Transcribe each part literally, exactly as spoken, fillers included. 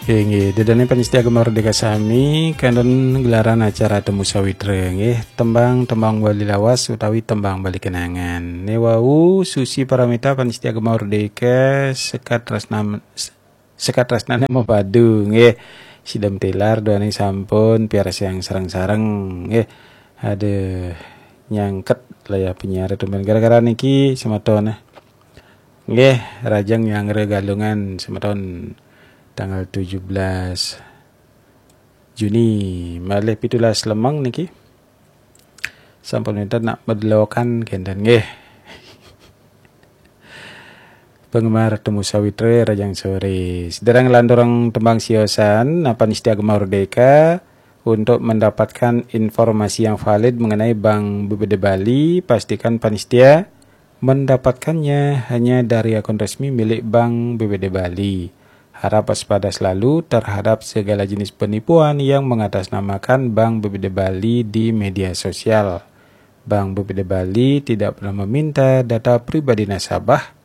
Oke, nggih, ida dané pamiarsa Gema Merdeka sami, kantun gelaran acara Temu Sawitra, nggih, tembang-tembang Bali lawas utawi tembang Bali kenangan. Né wau Susi Paramita pamiarsa Gema Merdeka, Sekat Tresna, Sekat Tresnané mapadu, nggih. Sidam tilar duaning sampun piarsayang sareng-sareng, nggih. Aduh, nyangket lah ya penyiar tumben gara-gara niki semeton. Nggih, rajang nyanggra Galungan semeton tanggal tujuh belas Juni malih pitulas lemeng niki. Sampun wénten nak medelokan kénten nggih. Penggemar Temu Sawitra rajang sore. Sedereng nglanturang tembang siosan, pamiarsa Gema Merdeka, untuk mendapatkan informasi yang valid mengenai Bank B P D Bali, pastikan pamiarsa mendapatkannya hanya dari akun resmi milik Bank B P D Bali. Harap waspada selalu terhadap segala jenis penipuan yang mengatasnamakan Bank B P D Bali di media sosial. Bank B P D Bali tidak pernah meminta data pribadi nasabah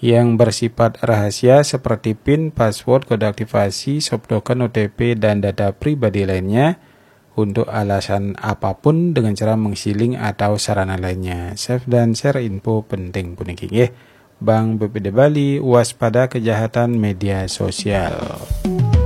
yang bersifat rahasia seperti pin, password, kode aktivasi, soft token, O T P, dan data pribadi lainnya untuk alasan apapun dengan cara mengsiling atau sarana lainnya. Save dan share info penting puniki nggih. Bank B P D Bali, waspada kejahatan media sosial.